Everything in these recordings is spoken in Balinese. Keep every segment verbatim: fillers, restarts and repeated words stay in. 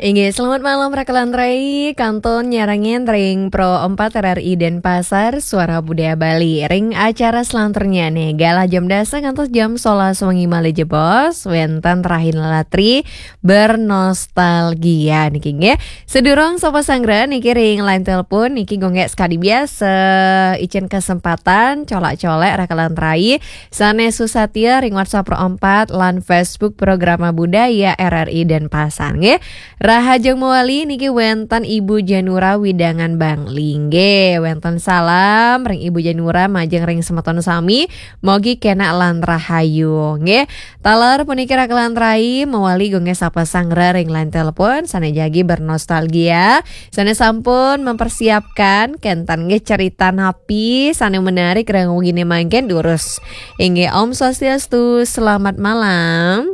Inggih, selamat malam Raka lan Rai, kantun nyarengin ring Pro empat R R I Denpasar, Suara Budaya Bali. Ring acara selanturnya nih, galah jam dasa ngantos jam solas wengi malih jebos, wenten Rahina Latri bernostalgia niki nggih. Sedurung sapa sanggra niki ring line telepon niki gonggek sekadi biasa, icen kesempatan colak-colek Raka lan Rai sane susatia ring WhatsApp Pro empat lan Facebook Programa Budaya R R I Denpasar nggih. Rahajeng mawali niki wenten Ibu Janura Widangan Bangli nggih. Wenten salam ring Ibu Janura majeng ring semeton sami. Mogi kenak lan rahayu nggih. Taler puniki Raka lan Rai mawali gonggek sapa sanggra ring line telepon sane jagi bernostalgia, sane sampun mempersiapkan kenten nggih cerita napi sane menarik ring wengine mangkin durus. Inggih, Om Swastiastu, selamat malam.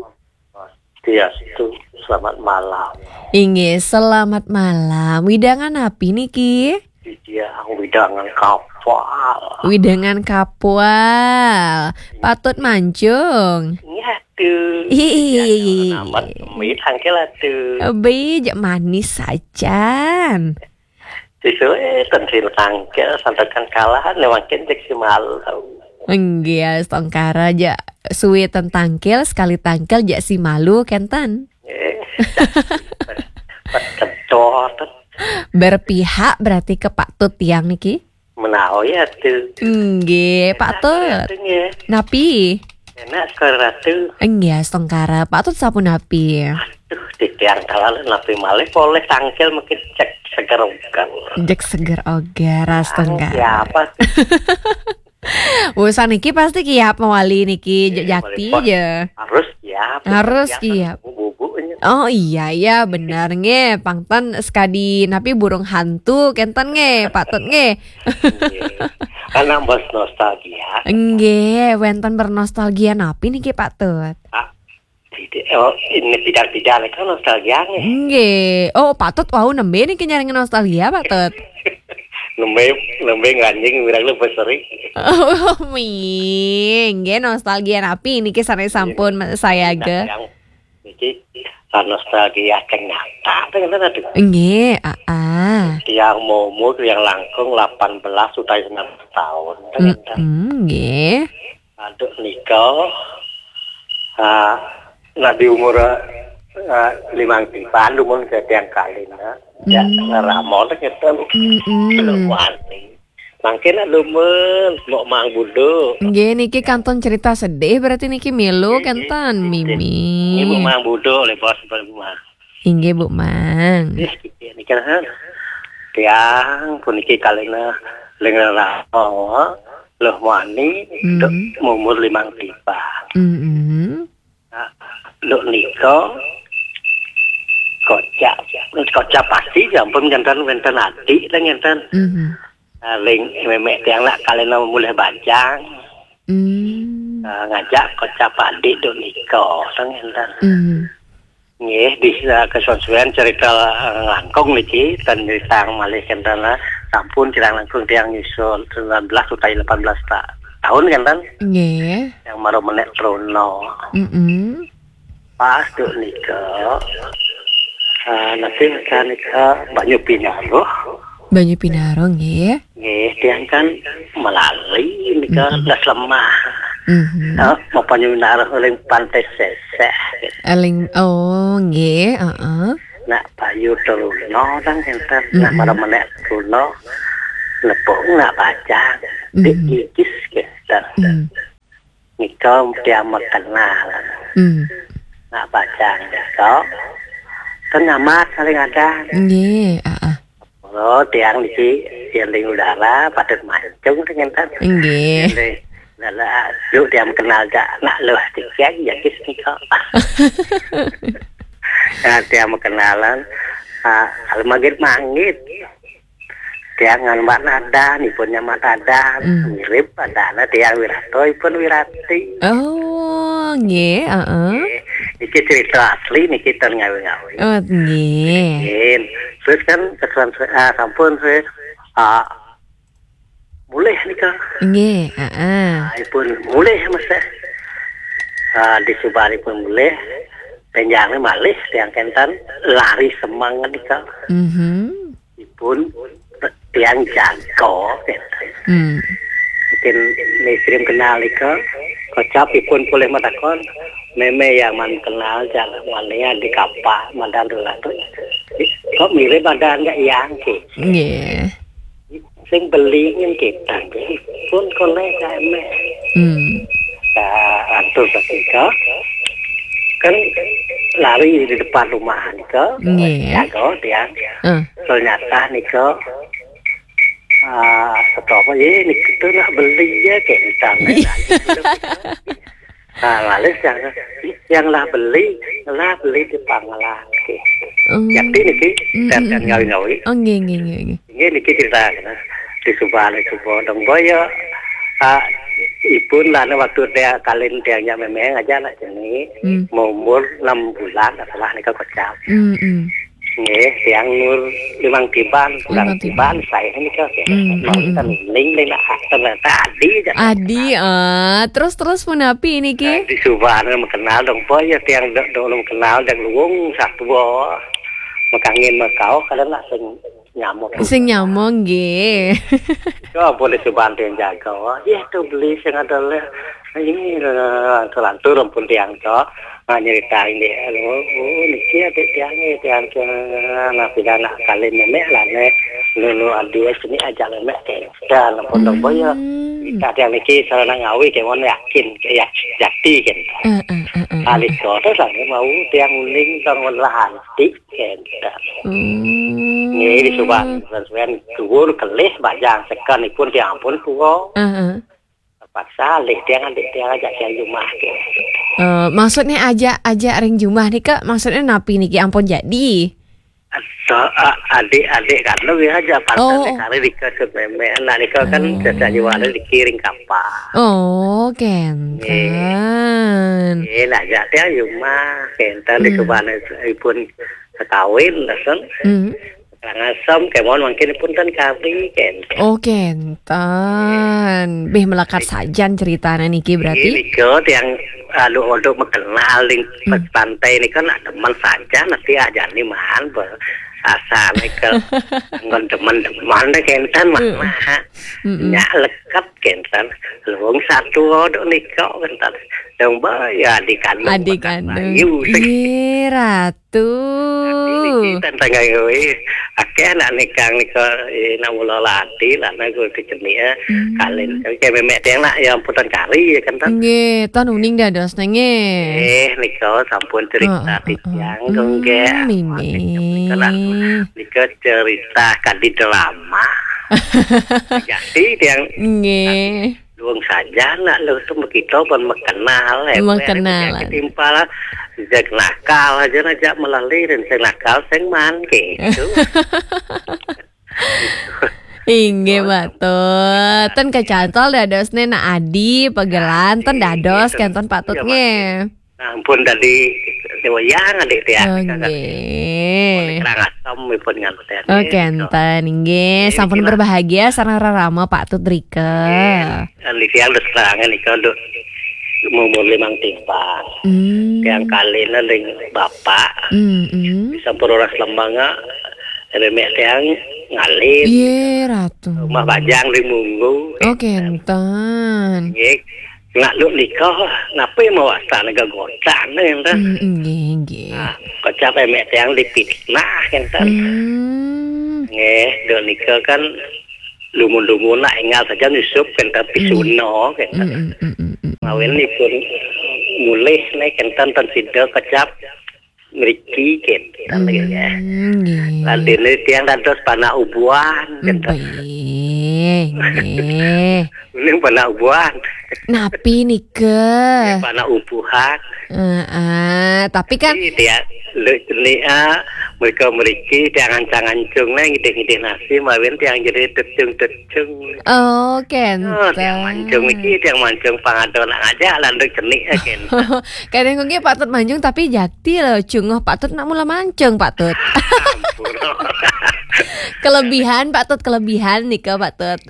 Swastiastu, selamat malam. Inggih, selamat malam. Widangan napi niki? Widangan, widangan kapal. Widangan kapal. Patut mancung. Nggih atu. Ih. Amat amit angkel atu. Be, jak manis sajan. Sesuai tensil tangkel santakan kalahan mangkin cek si malu. Inggih, astungkara jak suwe ten tangkil, sekali tangkil jak si malu kenten. Eh, Kencot. Berpihak berarti ke Pak Tut tiang niki? Menawi atu. Inggih, Pak Tut. Atu nggih. Napi? Enak sekali ratu. Inggih, astungkara. Pak Tut sapunapi? Duh, titiang kalah napi malih polih tangkil mungkin cek seger ogan. Jek seger ogar, astungkara. Siapa tuh? Urusan niki pasti kiap mawali niki, jak jati Paling je. Harus siap. Harus Siap, siap. Bubuknya. Oh iya, iya, bener nggih. Pangten sekadi napi burung hantu kenten nggih, Pak Tut nggih. Anak bos nostalgia. Nggih, wenten bernostalgia napi niki Pak Tut? Tidak, oh, ini tidak-tidak kan nostalgia nih. Nggih. Oh, Pak Tut wau nembe niki nyarengin nostalgia, Pak Tut? Nembe nembe nganjing wirang lu beseri. Oh, mi. Nggih, nostalgia napi niki sane sampun sayaga? Yang niki, ah, nostalgia ternyata kan ada. Nggih, aa. Tiang momo tiang langkung delapan belas utawi sembilan belas tahun. Ternyata. Mm, nggih. Aduh nika, ah, nah di umur, ah, limang tiban dumun ke tiang kalina. Ya, Hmm. ngeramon gitu. Mm-mm. Belum wani. Mangkin nak lumen, mau mang budu. Nggih, niki kantun cerita sedih berarti niki milu kenten, Mimi. Ibu mang budu oleh bos, Ibu mang. Inggih, Bu Mang. Nggih, niki kan. Tiang puniki kalina lengan rawa, loh mani, Hmm. dok umur limang tiban. Mm-mm. Nah, dok nika kocak, kocak pasti sampun jantan wenten adik lah jantan. Mhm. Nah, ling memek tiang nak kalina mulih bajang. Hmm. Nah, ngajak kocak adik dok nika, jantan. Mhm. Nggih, di, eh, kesuwen-suwen cerita, eh, langkung niki, ten cerita malih kenten, eh, sampun kirang langkung tiang nyusul sembilan belas utawi delapan belas ta-, tahun kenten, Nggih. yang baru menek Truno. Mm-mm. Pas dok nika, eh, nanti nika banyu pinaruh. Banyu pinaruh nggih. Nggih, tiang kan melali nika Mm-mm. das lemah. Mhm. Eh, mau banyu pinaruh ring pantai seseh. Eling, oh nggih, heeh. Nak payu Truno tang kenten. Nak Mm-mm. marang menek Truno. Lepung nak bajang. Mhm. Dik gigis kenten. Mhm. Nika tiang makenal. Mhm. Nak bajang nika. Kan nyamat saling ada. Nggih, heeh. Oh, tiang niki yang ring udara patut mancung kenten. Nggih. Nggih. Lala, yuk tiang kenal gak nak luh tiang ya kis nika. Nah, tiang kenalan, ah, kalau manggit-manggit. Tiang ngan Mbak Nada, nipun nyamat Nada, Hmm. mirip Nada, tiang Wirato, ipun Wirati. Oh, nggih, heeh. Nggih. Niki cerita asli, niki ten ngawi-ngawi. Oh, nggih. Nggih. Terus kan kesuwen, ah, sampun, terus, ah, mulih nika. Nggih, heeh. Ah, ipun mulih, Mas, eh. Ah, di subaripun mulih, Benjang malih tiang kenten lari semengan nika. Mhm. Ipun tiang jago kenten. Hmm. Mungkin ni sering kenal nika. Kocap ipun boleh matakon. Meme yang man kenal jalan mania di kapal madan dulu tu. Kok mirip ada nggak yang ke? Nggih. Sing beli nyen kita pun koleh kame. Hmm. Atur seketika kan lari di depan rumah nika. Nggih. Jago tiang. Eh. Ternyata nika ah, apa ye nika tu nak beli ya kita. Iya. Nah, lalu yang, yang lah beli, lah beli di Pangkalan. Oke. Oh. Yakti niki, mm, dan, mm, dan mm. Ngawi-ngawi. Oh, nggih, nggih, nggih, nggih. Nggih, niki cerita, nah. Di Subang, di Subang, dong boyo. Ah, ipun lah, nah, waktu dia kalin dia nya memeng aja nak jenis, hmm, mau umur enam bulan, salah nika kocap. Mm, mm. Nggih, tiang umur limang tiban, kurang limang tiban, tiban, saya ini kan, ya. Hmm, hmm, hmm. Ning, ning, nak, tadi aja. Adi, ah, terus, terus punapi ini ki? Eh, di Subang, kenal dong, boy, ya, tiang dong, dong kenal, dong luwung, satu, boh. Makangin makau, kadang nak sing nyamuk. Sing nyamuk, nggih. Itu boleh Subang tiang jaga, wah. Iya, tuh beli sing ada leh. Ini, eh, lantur-lantur, ampun tiang, toh. Nah, nyeritain deh, oh, oh, niki adik tiang, eh, tiang, tiang, nah, pindah nak kali nenek lah, nek. Lulu adik sini aja nenek, eh. Dan, pondok boyo. Hmm. Kita tiang niki, sarana ngawi, kayak mana yakin, kayak yak-, jati, kan. Eh, eh, eh, eh, eh. Alis kota, lah, mau tiang uling, tong lah, antik, kan. Hmm. Ini di Subang, sesuai, kubur, kelih, bajang, sekan, ipun, tiang pun, kuwo. Eh, eh. Terpaksa lih tiang adik tiang ajak tiang jumah ke. Eh, maksudnya ajak, ajak ring jumah nih, Kak? Maksudnya napi niki ampun jadi? Atau, a-, adik-adik kan lebih aja pantas. Oh, oh. Kali dikasih meme anak nika kan. Hmm. Sejak jual dikiring kapal. Oh, kenten. Eh, nak ajak tiang jumah, kenten di, hmm, Subang ipun sekawin, kan. Hmm. Karangasem, kemon mungkin pun kan kari, kenten. Oh, kenten. Bih melekat sajan ceritanya niki berarti. Ini kok yang alu odok makenal ning, hmm, pantai ini kan ada teman saja nanti aja nih man ber-, asal nih ke ngon teman-teman deh kenten mah. Hmm. Nah, hmm, hmm. Nya lekat kenten. Luwung satu odok nih kok kenten. Dong boyo di kandung. Adik kandung. Bayu. Iya, Rat. Tuh. Tapi niki tentang gawe, akeh anak nikang nika, eh, nak mula lati lah, nak gue kecenik, eh, hmm, kalin. Tapi kayak memek tiang nak, ya amputan kari, ya kan, tan? Nggih, tan uning dados, nggih. Eh, nika sampun cerita, heeh, heeh, titiang, hmm, nggih. Mimi. Nika nak, nika cerita kadi drama. Jadi tiang, nggih. Luwung saja nak lu tu begitu pun makenal, eh. Makenal. Timpal, sejak nakal aja, aja melalui dan sing nakal, sing man, gitu. Inggih, Pak Tut. Ten kecantol dados ne nak adi, pegelan, ten dados, kenten Pak Tut, nggih. Nah, ampun tadi wayang adik tiang. Oh, nggih. Oleh kerang asam ipun nganten. Oh, kenten, nggih. Nggih, sampun berbahagia sareng rerama Pak Tut rika. Nggih. Adik tiang terus terang nika, Duk. Umur limang timpang. Hmm. Tiang kalina ring bapak. Hmm, hmm. Sampun roras lembang, remek tiang ngalin. Iya, Ratu. Rumah bajang di Munggu. Oh, kenten. Nggih. Nak Duk nika, napa mau asal nega gotan, enten? Hmm, nggih, nggih. Nah, kocap emek tiang dipitnah, enten. Hmm. Nggih, Duk nika kan lumun-lumun nak enggal saja nyusup, enten, hmm, pisuna, enten. Hmm, hmm, hmm, hmm, hmm. Ngawinipun mulih, nek enten ten sida kocap mriki, kenten, hmm, ya. Nggih. Lan dene tiang dados panak ubuhan, kenten. Nggih, nggih. Mending panak ubuhan. Napi nika? Nggih, panak ubuhan. Heeh, tapi kan. Jadi tiang, le-, le-, ah, mereka mriki tiang ancang-ancung, neh, ngidih-ngidih nasi, mawin tiang jadi decung-decung. Oh, kenten. Oh, tiang mancung iki, tiang mancung pangado nak ngajak, landuk cenik, eh, kenten. Kadang kok nggih Pak Tut mancung, tapi jati lho, cunguh Pak Tut nak mula mancung, Pak Tut. Ampun. Kelebihan, Pak Tut, kelebihan nika, Pak Tut.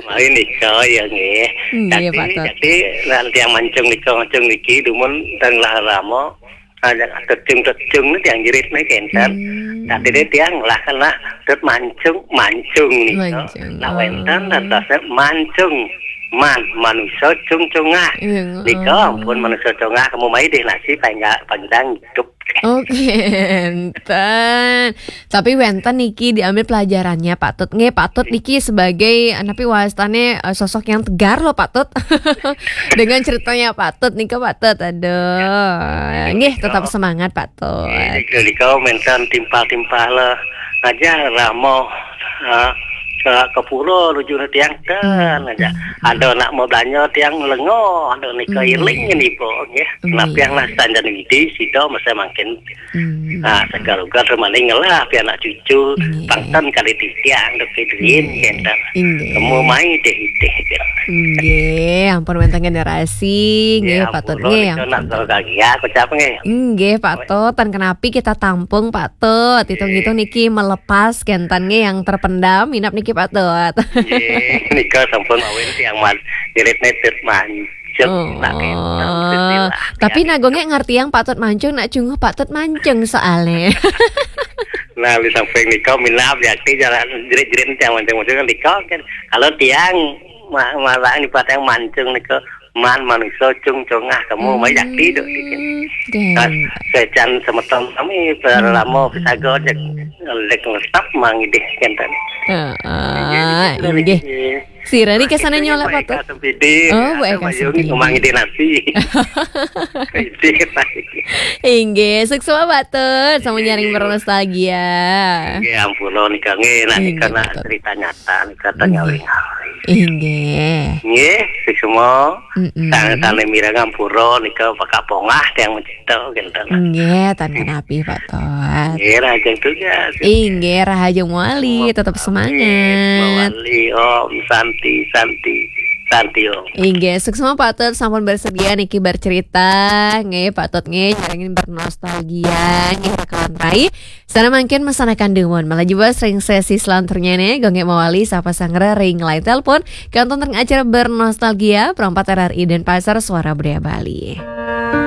Mari nika, ya, nggih. Nggih, Pak Tut. Jadi, jadi, lan tiang mancung nika, mancung niki, dumun dan lah rama. Nah, yang tecung-tecung ni tiang jerit ni kenten. Hmm. Tadi dia tiang lah kena tet mancung, mancung ni. Mancung. Nak wenten dan dasar mancung. Man, manusia cung-cungah. Iya, nika, oh. Ampun manusia congah, kamu mai deh nasi pangga-, panggang hidup. Oke, enten. Tapi wenten niki diambil pelajarannya, Pak Tut. Nggih, Pak Tut niki sebagai, eh, napi wastane, eh, sosok yang tegar loh, Pak Tut. Dengan ceritanya Pak Tut nika, Pak Tut. Aduh. Nggih, tetap semangat, Pak Tut. Nggih, nika, nika menten timpal-timpal lah. Aja ramo, ha, ke, ke pura nuju tiang ten aja. Ada nak mau belanja tiang lengo, ada nika iling ni po, nggih. Nggih. Napi yang lah sanjan widi, sida masa mangkin. Hmm. Ha, segar-ugar maning lah, pi anak cucu, nggih. Pangten kali titiang, dok piduin, nggih. Kenten. Nggih. Kamu mai deh, deh, deh. Nggih, ampun wenten generasi, nggih, nggih, Pak Tut, ampun, nggih, nika ampun. Nak gagia, kocap, nggih. Nggih, Pak Tut, tan kenapi kita tampung, Pak Tut. Hitung-hitung niki melepas kenten nggih yang terpendam, inap niki, Pak Tut. Nggih, nika sampun mawin tiang man-, jerit netet mancung, oh. Nak kenten, istilah. Tapi ya, nagongnya ngerti yang Pak Tut mancung, nak cunguh Pak Tut mancung soalnya. Nah, li samping nika minap yakti jalan jerit-jerit tiang mancung-mancung nika kan. Kalau tiang ma-, malah ni patang mancung nika man manusia cung-cungah kamu, hmm, mai yakti dok dikit. Nah, secan semeton kami berlama pisaga cek lek ngetap mang idih kenten. Heeh, inggih. Sira niki kesana nyolek, Pak Tut. Oh, Bu Eka Sempidi. Mang idih nasi. Idih, Pak. Inggih, suksma, Pak Tut. Sama nyaring bernostalgia. Nggih, ampura nika nggih, nak nika nak cerita nyata nika tanya. Inggih. Nggih, suksma. Mm-mm. Sang sane mireng ampura nika bakal pongah tiang mencipta kenten. Nggih, tan kenapi, Pak Tut. Nggih, rahajeng tugas. Inggih, rahajeng mawali, tetap semangat. Mawali, Om Santi, Santi, Santi, Om. Inggih, suksma Pak Tut sampun bersedia niki bercerita. Nggih, Pak Tut nggih nyarengin bernostalgia nggih rekawan rai. Sana mangkin mesanakan dumun. Malah juga sering sesi selanjutnya nih, gonggek mawali sapa sanggra ring line telepon. Kantun teng acara bernostalgia, Pro empat R R I Denpasar, Suara Budaya Bali.